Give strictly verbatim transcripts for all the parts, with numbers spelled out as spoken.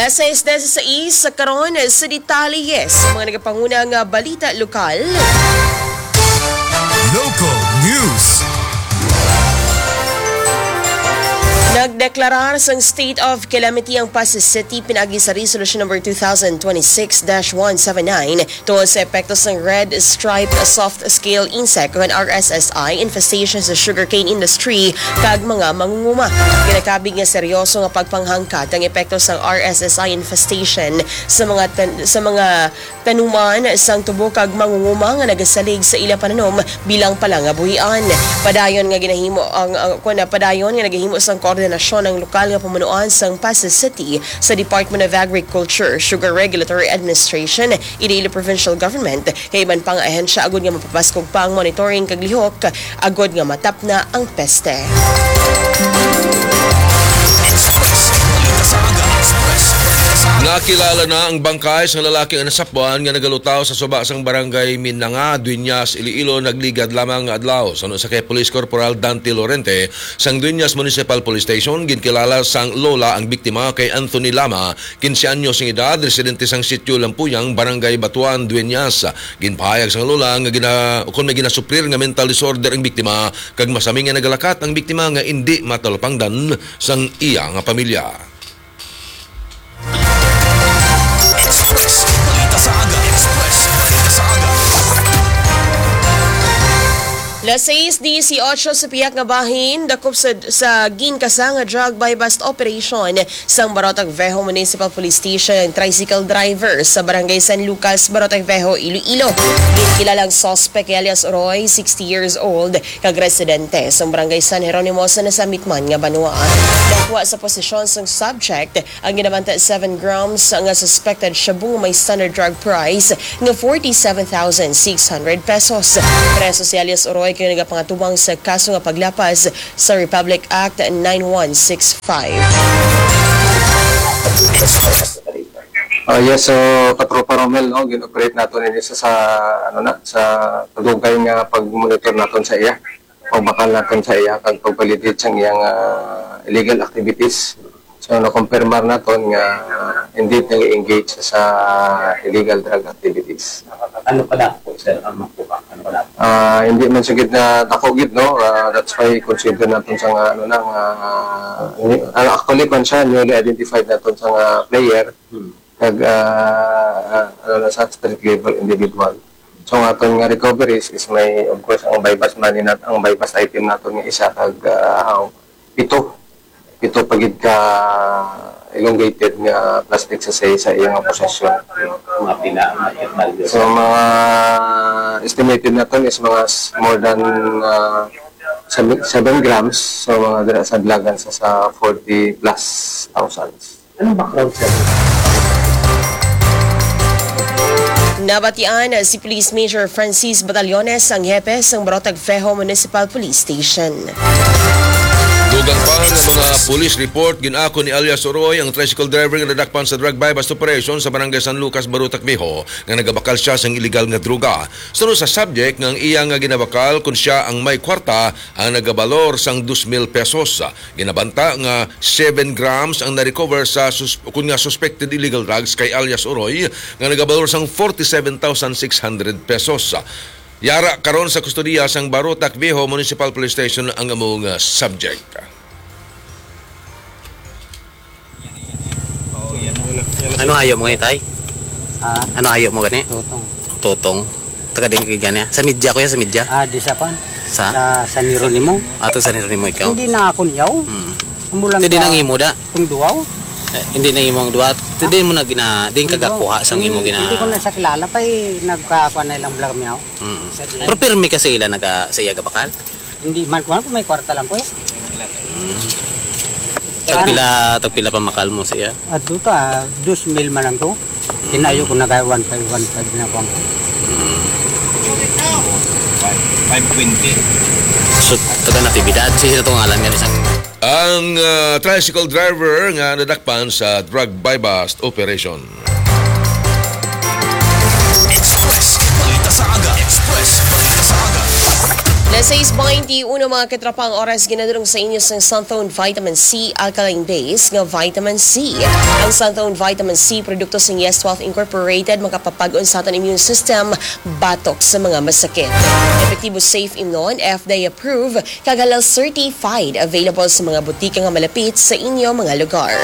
Alas sais dieciséis sa karon sa detalye sa mga nagapanguna nga balita lokal. Local news. Nagdeklarar sang state of calamity ang Passi City pinaagi sa Resolution Number two thousand twenty-six dash one seven nine tungod sa epekto sang red stripe soft scale insect o R S S I infestation sa sugarcane industry kag mga mangunguma. Ginakabig nga seryoso nga pagpanghangkat ang epekto sang R S S I infestation sa mga tan- sa mga tanuman sang tubo kag mangunguma nga nagasalig sa ila pananom bilang palangabuhian. Padayon nga ginahimo ang, ang kuwan na padayon nga nagahimo sang koordinasyon ang lokal nga pamunuan sang Passi City sa Department of Agriculture, Sugar Regulatory Administration, Iloilo Provincial Government, kay iban pa nga ahensya agud nga mapapaskog pa ang monitoring kag lihok agud nga matapna ang peste. Nakilala na ang bangkay sang lalaki nga nasapwan nga nagalutaw sa suba sang barangay Minanga, Dueñas, Iloilo, nagligad lamang nga adlaw. Suno sa kay Police Corporal Dante Lorente sang Dueñas Municipal Police Station, ginkilala sang lola ang biktima kay Anthony Lama, quince anyos ang edad, residente sang Sitio Lampuyang, Barangay Batuan, Dueñas. Ginpahayag sang lola nga gina-, ukon may ginasuprir nga mental disorder ang biktima, kag masami nga nagalakat ang biktima nga indi matalupangdan sang iya nga pamilya. Express. Balita sa aga. Express. Balita sa aga. Las seis dieciocho sa pihak nga bahin, dakop sa, sa ginkasa nga drug buy-bust operation sang Barotac Viejo Municipal Police Station ang tricycle driver sa Barangay San Lucas, Barotac Viejo, Iloilo. Ginkilala ang suspect kay alias Roy, sixty years old, kag residente sa Barangay San Jeronimo sa nasamit man nga banwa. Nakuha sa posesyon sang subject ang ginabanta seven grams nga suspected shabu nga may standard drug price nga forty-seven thousand six hundred pesos. Preso si alias Oroy kay nagapangatubang sa kaso nga paglapas sa Republic Act nine one six five. Ah, yes, so, Katropa Romel, no, gin-operate nato ini sa, sa, ano na, sa kadugay nga pag-monitor naton sa iya, pagbakal naton sa iya, kag pag-validate sang iyang, ah, illegal activities. So, nakumpirmar naton nga, ah, indeed nag-engage sa illegal drug activities. Ano pa na po, sir, ang makuha? Ano pa na po? Ah, hindi man sa gid na dako gid, no? Ah, that's why consider naton sa nga, ano na, nga, ah, ni-, ah, actually, kwan siya, newly identified naton sa nga player. Hmm. Kag, ah, ah, ano na sa street level individual. So, ang aton nga recoveries is may, of course, ang buy-bust money nat-, ang buy-bust item naton nga isa kag, ah, pito. Pito pa gid ka elongated nga plastic sa, sa, sa iyang posesyon. Mga pina-, mga pina-, So, mga estimated naton is mga s-, more than, ah, seven, seven grams. So, mga dira sa dalagan sa, sa forty plus thousands. Anong background, sir? Nabatian si Police Major Francis Batallones, ang hepe sang Barotac Viejo Municipal Police Station. Dugang pa nga mga police report, gin-ako ni alias Oroy ang tricycle driver nga nadakpan sa drug buy-bust operation sa Barangay San Lucas, Barotac Viejo, nga nagabakal siya sang iligal nga droga. Suno sa subject nga ang iya nga ginabakal, kun siya ang may kwarta, ang nagabalor sang dos mil pesos. Ginabanta nga seven grams ang na-recover sa sus-, kun nga suspected illegal drugs kay alias Oroy nga nagabalor sang forty-seven thousand six hundred pesos. Yara karon sa kustodiya sang Barotac Viejo Municipal Police Station ang among, ah, subject. Ano hayo mo, itay? Ha? Ano hayo mo gani? Tutong. Tutong. Taga din kay gani. Sa media, kuya, sa media? Ah, di sa pan. Sa? Sa San Jeronimo. Ato sa Jeronimo ikaw? Hindi na ako niyaw. Hmm. Amo lang. Hindi ka nang imo da? Kung duwaw. Eh, hindi na imo ang duwa. Hindi mo na gina-, din Hindi ko, kagakuha sang imo hindi, gina- hindi ko na sa kilala pa eh. Nagkakuha na ilang vlog niyaw. Mm. Sa Pero pirmi ka sa ila naga, sa iya gabakal? Hindi man ko, may kwarta lang ko eh. Mm. Tagpila, tagpila pa makal mo siya? Adto ka, dos mil man lang to. Tinayo ko nagay one five, one five na ko. Five twenty. So, taga Natividad. Sino to ngalan nga isang Ang, ah, tricycle driver nga nadakpan sa drug buy-bust operation. Express. Balita sa aga. Express. Balita sa aga. Seis bainti uno, mga katropa, ang oras ginadulong sa inyo sang Santhone Vitamin C Alkaline Base nga Vitamin C. Ang Santhone Vitamin C, produkto sang Yes twelve Incorporated, makapapag-on sa aton immune system batok sa mga masakit. Epektibo, safe imnon, F D A approved, kag halal certified. Available sa mga butika nga malapit sa inyo mga lugar.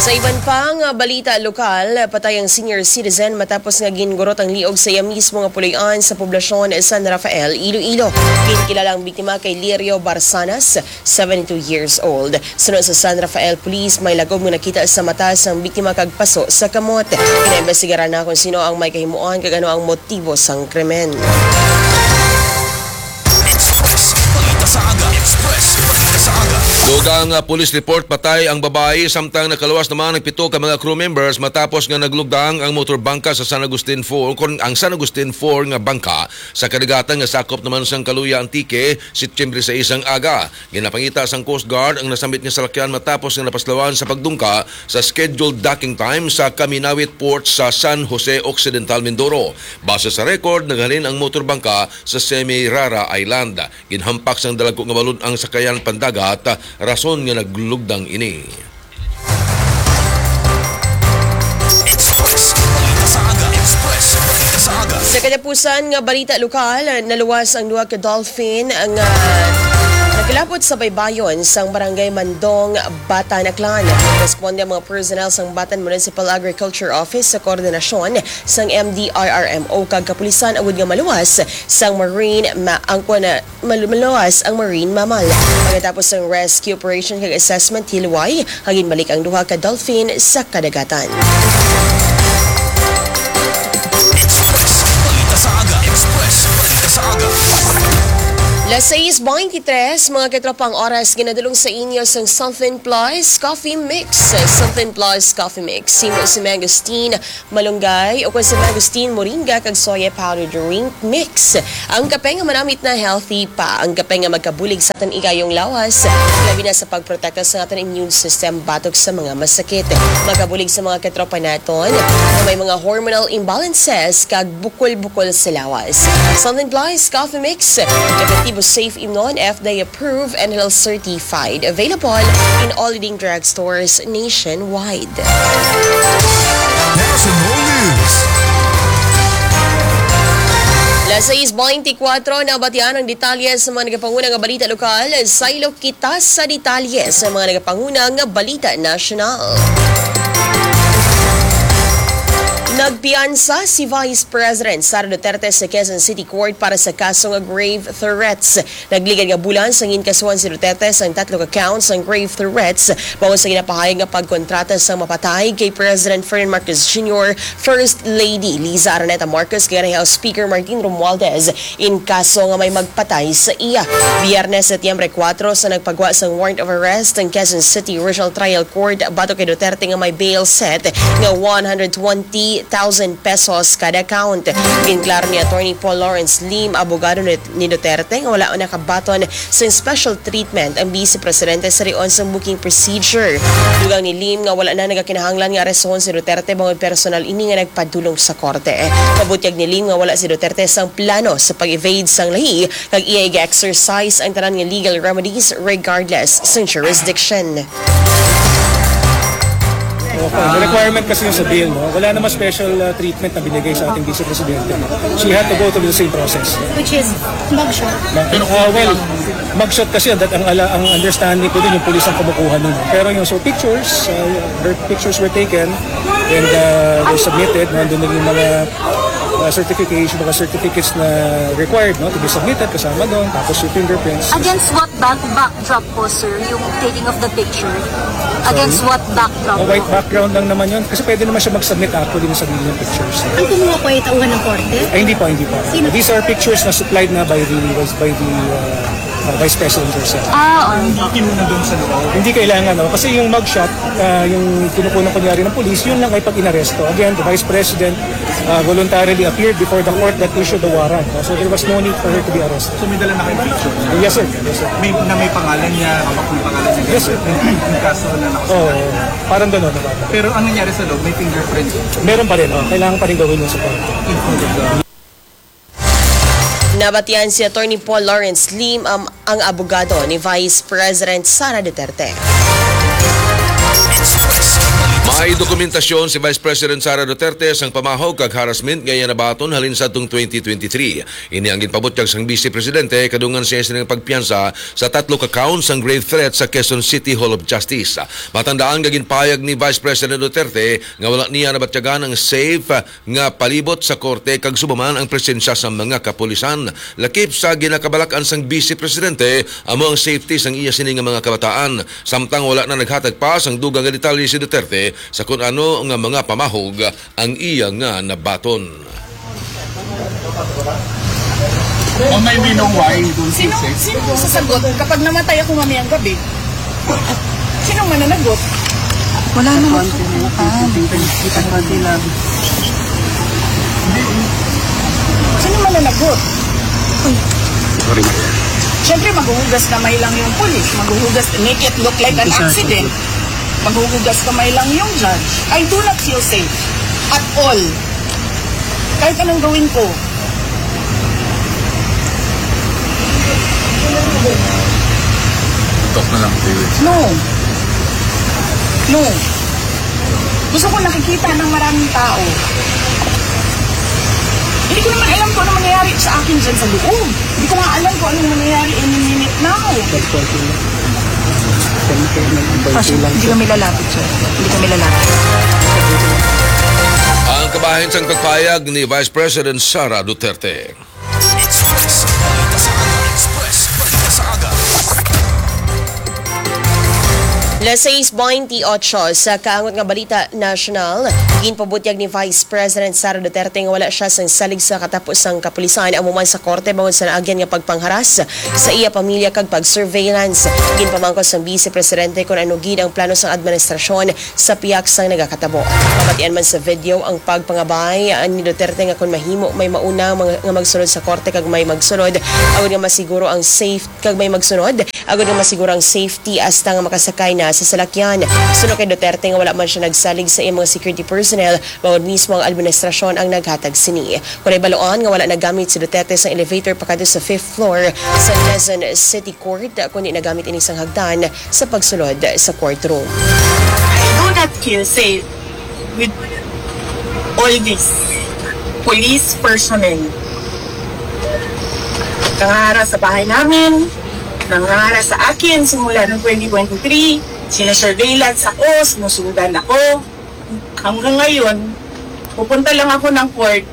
Sa iban pa nga balita lokal, patay ang senior citizen matapos nga gingurot ang liog sa iya mismo nga puloy-an sa poblasyon San Rafael, Iloilo. Ginkilala ang biktima kay Lirio Barsanas, seventy-two years old. Suno sa San Rafael Police, may lagom nga nakita sa mata sang biktima kag paso sa kamot. Ginaimbestigaran na kung sino ang may kahimuan kag ano ang motibo sang krimen. Express. Balita sa aga. Express. Balita sa aga. Dugang, ah, police report, patay ang babayi, samtang nakaluwas naman ang pito ka mga crew members matapos nga naglugdang ang motor bangka sa San Agustin four, kon ang San Agustin four nga bangka sa kadagatan nga sakop naman sang Caluya, Antique, Setyembre sais ang aga. Ginapangita sang Coast Guard ang nasambit nga salakyan matapos nga napaslawan sa pagdungka sa scheduled docking time sa Kaminawit Port sa San Jose Occidental, Mindoro. Base sa record, naghalin ang motor bangka sa Semirara Island. Ginhampak sang dalagku nga balod ang sakayan pandagat, rason nga naglugdang ini. Express. Balita sa aga. Express. Balita sa aga. Sa katapusan nga balita lokal, naluwas ang duha ka dolphin nga nagkalapot sa baybayon sang Barangay Mandong, Batan, Aklan. Responde ang mga personnel sang Batan Municipal Agriculture Office sa koordinasyon sang M D R R M O kag kapulisan agud nga maluwas sang marine ma-, ang kuwan na, malu-, maluwas ang marine mammal. Pagkatapos sang rescue operation kag assessment, hilway, nga ginbalik ang duha ka dolphin sa kadagatan. Express. Balita sa aga. Express. Balita sa aga. Las sais baintitres, mga katropa, ang oras ginadulong sa inyo sang Something Plus Coffee Mix. Something Plus Coffee Mix. Himo si Mangosteen Malunggay o kon sa Mangosteen Moringa kag Soya Powder Drink Mix. Ang kape nga manamit na, healthy pa. Ang kape nga magkabulig sa aton igayong lawas, labi na sa pagprotekta sa aton immune system batok sa mga masakit. Magabulig sa mga katropa naton nga may mga hormonal imbalances kag bukol-bukol sa lawas. Something Plus Coffee Mix, epektibo, safe imnon, F D A approved, and health certified. Available in all leading drugstores nationwide. National News. Las sais baintikwatro, nabatian ang detalye sa mga nagapanguna nga balita lokal. Saylo kita sa detalye sa mga nagapanguna nga balita nasyonal. Nagpiyansa si Vice President Sara Duterte sa Quezon City Court para sa kaso nga grave threats. Nagligad nga bulan sang ginkasuhan si Duterte sang tatlo ka counts sang grave threats, bangod sa ginapahayag nga pagkontrata sang mapatay kay President Ferdinand Marcos Junior, First Lady Liza Araneta Marcos, kag House Speaker Martin Romualdez in kaso nga may magpatay sa iya. Biyernes, Setyembre kuwatro, sa nagpagwa sang warrant of arrest ang Quezon City Regional Trial Court batok kay Duterte nga may bail set nga one hundred twenty thousand pesos kada count. Ginklaro ni Attorney Paul Lawrence Lim, abogado ni, ni Duterte, nga wala nakabaton sang special treatment ang Vice Presidente sa rion sang booking procedure. Dugang ni Lim nga wala na nagakinahanglan nga arestahon si Duterte bangod personal ini nga nagpadulong sa korte. Pabutyag ni Lim nga wala si Duterte sang plano sa pag-evade sang lahi kag iya iga-exercise ang tanan nga legal remedies regardless sang jurisdiction. Okay. The requirement kasi yung sa bail, no? Wala namang special, uh, treatment na binigay sa ating Vice Presidente. She had to go through the same process. Which is mugshot. Uh, well, mugshot kasi that ang ala-, ang understanding ko din yung pulis ang kumukuha nun. Pero yung so pictures, uh, her pictures were taken and, uh, were submitted. Nandun din yung mga, uh, certification, mga certificates na required, no, to be submitted, kasama doon, tapos yung fingerprints. Against what back-, backdrop po, sir, yung taking of the picture? Against what backdrop po? White background lang naman yun. Kasi pwede naman siya mag-submit actually ng sarili niyang pictures. Ang kumuha po ay tauhan ng korte? Ay, hindi po, hindi po. Sino? These are pictures na supplied na by the, by the, uh, uh, Vice President herself. Ah, okay. Hindi kinuha doon sa loob? Hindi kailangan, no? Kasi yung mugshot, uh, yung kinukuha kunyari ng police, yun lang ay pag inaresto. Again, the Vice President, uh, voluntarily appeared before the court that issued the warrant. So there was no need for her to be arrested. So may dala na kayong picture? Yes, sir. Yes, sir. May, na may pangalan niya, kapag may pangalan niya? Yes, sir. Yung, yung kaso na nakasalalay. Oo, parang ganun, parang. Pero ang nangyari sa loob, may fingerprint? Meron pa rin, oh. Kailangan pa rin gawin yung sa court. In front of the Nabatian si Attorney Paul Lawrence Lim, ang, ang abogado ni Vice President Sara Duterte. May dokumentasyon si Vice President Sara Duterte sang pamahog kag harassment nga iya nabaton halin sa atong twenty twenty-three. Ini ang ginpabutyag sang Vice Presidente kadungan siya sining pagpiyansa sa tatlo ka count sang grave threat sa Quezon City Hall of Justice. Matandaan nga ginpahayag ni Vice President Duterte nga wala niya nabatyagan ang safe nga palibot sa korte kag subong man ang presensya sa mga kapulisan. Lakip sa ginakabalak-an sang Vice Presidente, amo ang safety sang iya sini nga mga kabataan. Samtang wala na naghatag pa sang dugang nga detalye si Duterte sa kun ano nga mga pamahog ang iya nga nabaton. Ma'am, may we know why you don't feel Sino, safe? Sino ang sasagot kapag namatay ako mamayang gabi? Sino ang mananagot? Wala naman sa Sino ang mananagot? Siyempre, maghuhugas kamay lang yung pulis. Maghuhugas, make it look like an accident. Maghuhugas kamay lang yung judge. I do not feel safe at all. Kahit anong gawin ko. Talk na lang, David. No. No. Gusto ko nakikita ng maraming tao. Hindi ko naman alam kung ano mangyayari sa akin dyan sa loob. Hindi ko nga alam kung anong mangyayari any minute now. Passion, hindi kami lalapit, sir. Hindi kami lalapit. Ang kabahin sang pagpayag ni Vice President Sara Duterte. Express Balita sa Aga. Express Balita sa Aga. Las seis veintiocho sa kaangot nga balita nasyonal, ginpabutyag ni Vice President Sara Duterte nga wala siya sang salig sa katapusang kapulisan, amo man sa korte bangod sa naagyan nga pagpangharas sa iya pamilya kag pag-surveillance. Ginpamangkot sang Vice Presidente kon ano gid ang plano sang administrasyon sa pihak sang nagakatabo. Mabatian man sa video ang pagpangabay ni Duterte nga kon mahimo may mauna mga, nga magsulod sa korte kag may magsunod agod nga masiguro ang safe kag may magsunod agod nga masiguro ang safety hasta nga makasakay na sa salakyan. Suno kay Duterte nga wala man siya nagsalig sa iyang mga security personnel, bangod mismo ang administrasyon ang naghatag sini. Kon nahibaloan nga wala nagamit si Duterte sa elevator pakadto sa fifth floor sa Quezon City Court, kundi nagamit ini sang hagdan sa pagsulod sa courtroom. I do not feel safe with all this police personnel. Nangahara sa bahay namin, nangahara sa akin simula ng twenty twenty-three. Sinasurveillance ako, sinusundan ako. Hanggang ngayon, pupunta lang ako ng court,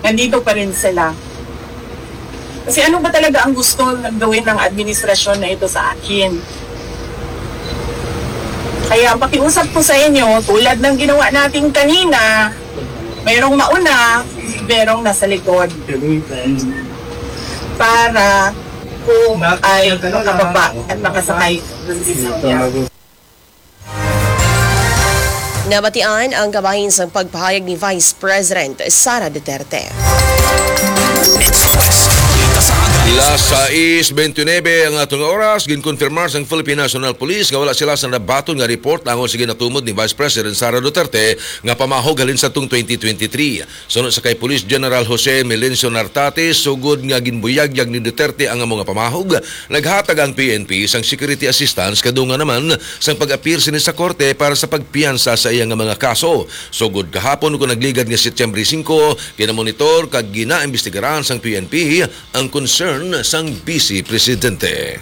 nandito pa rin sila. Kasi ano ba talaga ang gusto ng gawin ng administrasyon na ito sa akin? Kaya ang pakiusap ko sa inyo, tulad ng ginawa natin kanina, mayroong mauna, mayroong nasa likod. Para po ay makababa at makasakay ng sasakyan. Nabatian ang kabahin sang pagpahayag ni Vice President Sara Duterte. Las sais veintinuebe ang atong oras, ginkonfirmar sang Philippine National Police nga wala sila sa nabaton nga report tungod sa ginatumod ni Vice President Sara Duterte nga pamahog halin sa atong twenty twenty-three. Suno sa kay Police General Jose Melencio Nartate, sugod nga ginbuyagyag ni Duterte ang amo nga pamahog, naghatag ang P N P sang security assistance kadungan naman sang pag-apil sini sa korte para sa pagpiyansa sa iya nga mga kaso. Sugod kahapon, kon nagligad nga Setyembre singko, ginamonitor kag ginaimbestigaran sang P N P ang concern sang Vice Presidente.